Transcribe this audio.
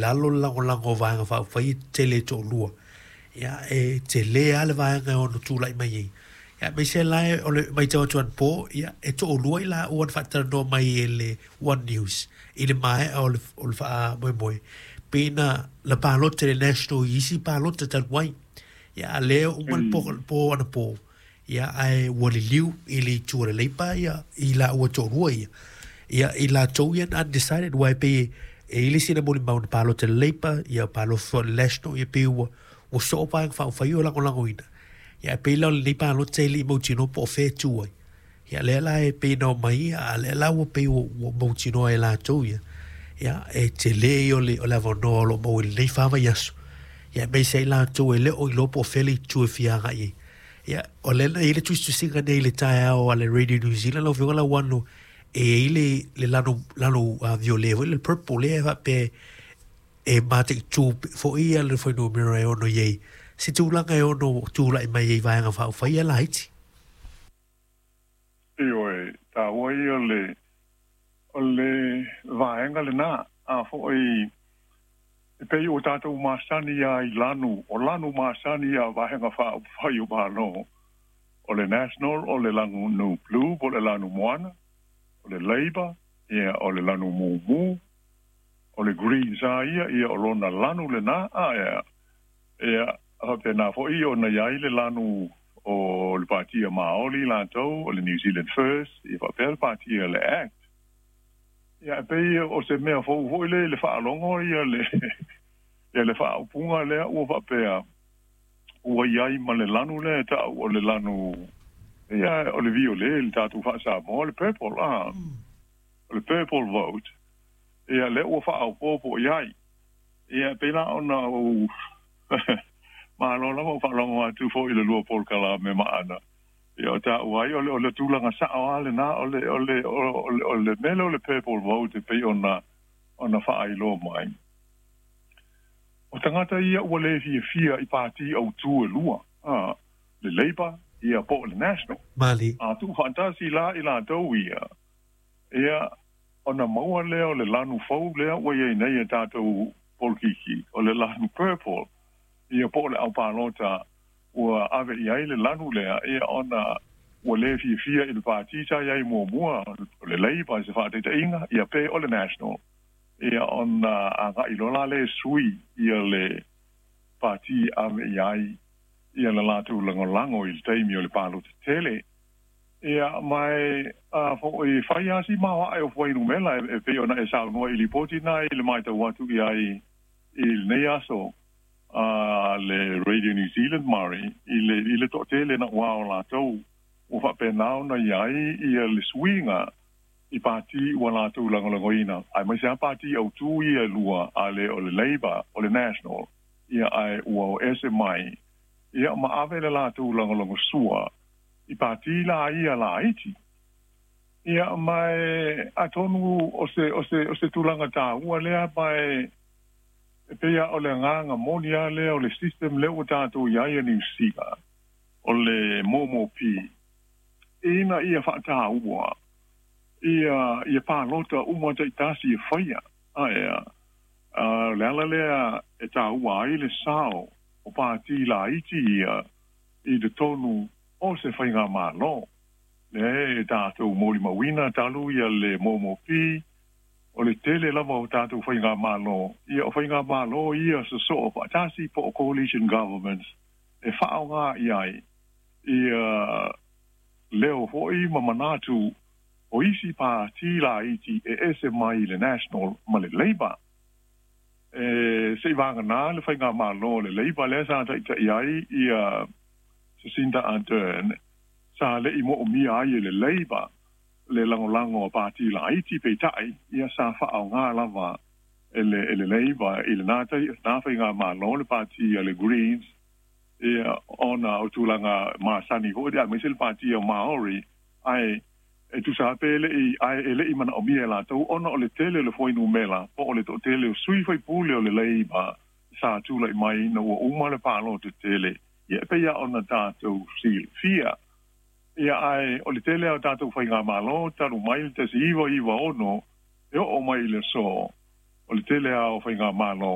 Lalo le lagolago o Vaega Faaupufai e tele e toalua. Ia, e tele lava le vaega e ono tulai mai ai. Ia, aemaise la o le matau atu anapo, ia, e toalua i laua na faatalanoa mai e le One News i le maea o le, o le faamoemoe, pei na, na palota i le National i isi palota talu ai. Ia, a lea uma le po, po anapo, Ia, ae ua liliu i le itu a le Leipa ia, i laua toalua ia. Ia, i latou ia na undecided, aua e pei e, e i ai le isi na molimau na palota i le Leipa, ia palota foi i le National, ia pei ua, ua soo vaega faaupufai o lagolagoina. Ia, ae pei la o lenei palota e le i mautinoa po o fea e tu ai. Ia, lea la e pei na omai ia, a lea la ua pei ua, ua mautinoa e latou ia, ia, e tele ia o le, o le avanoa o lo o maua i lenei fa vaiaso. Ia, aemaise ai latou e le o iloa po o fea le itu e fia agai ai. Ia, o lea na i ai le tusitusiga nei i le taeao a le Radio New Zealand, lau Afioga Lauano, e i ai le, le lanu, lanu violet foi, le purple lea e faapea e mataitu foi ia le fuainumera e ono i ai se tulaga e ono tulai mai ai i vaega faaupufai ia laiti. Ioe, taua ia o le, o le vaega lena, a foi E pei ua tatou masani lava i lanu, o lanu masani a Vaega Faaupufai o Malo, o le National, o le lanu Blue po o le lanu moana, o le Labour, ia, o le lanu mumu, o le Greens lava ia, ia, o lona lanu lena, a, ia, ia, faapena foi ona i ai le lanu o le Patia Maoli latou, o le New Zealand First, ia faapea le Patia le Act. Ia, e pei o se mea fou foi lea i le faalogo ia le, ia le faaupuga lea ua faapea, ua i ai ma le lanu lea e ta'u o le lanu, ia, o le violet i le tatou faa-Samoa, le purple, a, o le purple vote, ia, lea ua faaopoopo i ai. Ia, e pei la ona ou malo lava ou faalogo atu foi i le lua polokalame maana. Ia, o taua ai, o le, o le tulaga sa'o lava lena, o le, o le, o le, o le mea lea o le purple vote e pei ona, ona faailoa mai. O tagata ia ua le fiafia i pātī autū e lua, a, le Labour, ia, po o le National. Mali. A tuufaatasi la i latou ia, ia, ona maua lea o le lanu fou lea ua i ai nei e tatou polokiki, o le lanu purple, ia, po o le aupalota ua ave i ai le lanu lea, ia, ona ua le fiafia i le pātī sa i ai muamua, o le Labour i se faataitaiga, ia, pe o le National, ia, ona agai loa la lea e sui ia le pātī e ave i ai ia le latou lagolago i le taimi o le palota tele. Ia, ma e, a foi, fai lava si maoae o fuainumera e pei ona e saunoa i lipoti na i le matau atu i ai i lenei aso. A le Radio New Zealand Murray i le i le toatele naʻauao o latou ua faapena ona i ai ia le suiga i pātī ua latou lagolagoina, aemaise lava pātī autū ia e lua a le o le Labour o le National ia ae ua o ese mai ia ma ave le latou lagolagosua i pātī la ia laiti. Ia ma e atonu o se o se o se tulaga taua lea ma e E pei a o le agaga moni a lea o le system lea ua tatou i ai a Niu Sila, o le MOMOP, ina ia faataua ia ia palota uma taitasi e faia. Ae a o le ala lea e taua ai le sao o pātī laiti ia i totonu o se faigamalo. Lea e tatou molimauina talu ia le MOMOP, O le tele lava o tatou faigamalo, ia o faigamalo ia sosoo faatasi po o coalition governments e faaaoga i ai ia leo foi ma manatu o isi pātī laiti e ese mai i le National ma le Labour. E se i vagana le faigamalo a le Labour lea sa taita'i ai ia Jacinda Ardern sa le i moomia ai e le Labour le lagolago a pātī laiti, peitai, ia sa faaaoga lava e le e le Labour i lena lena faigamalo le pātī a le Greens, ia, ona o tulaga masani foi lea aemaise le pātī a Maori, ae e tusa lava pe le i ae e le i manaomia e latou ona o le tele o le fuainumera po o le toatele o sui faipule o le Labour sa tulai mai ina ua uma le palota tele, ia e pei lava ona tatou silafia. Ia, ae o le tele lava o tatou faigamalo talu mai le 1996 e oo mai i le aso, O le tele lava o faigamalo.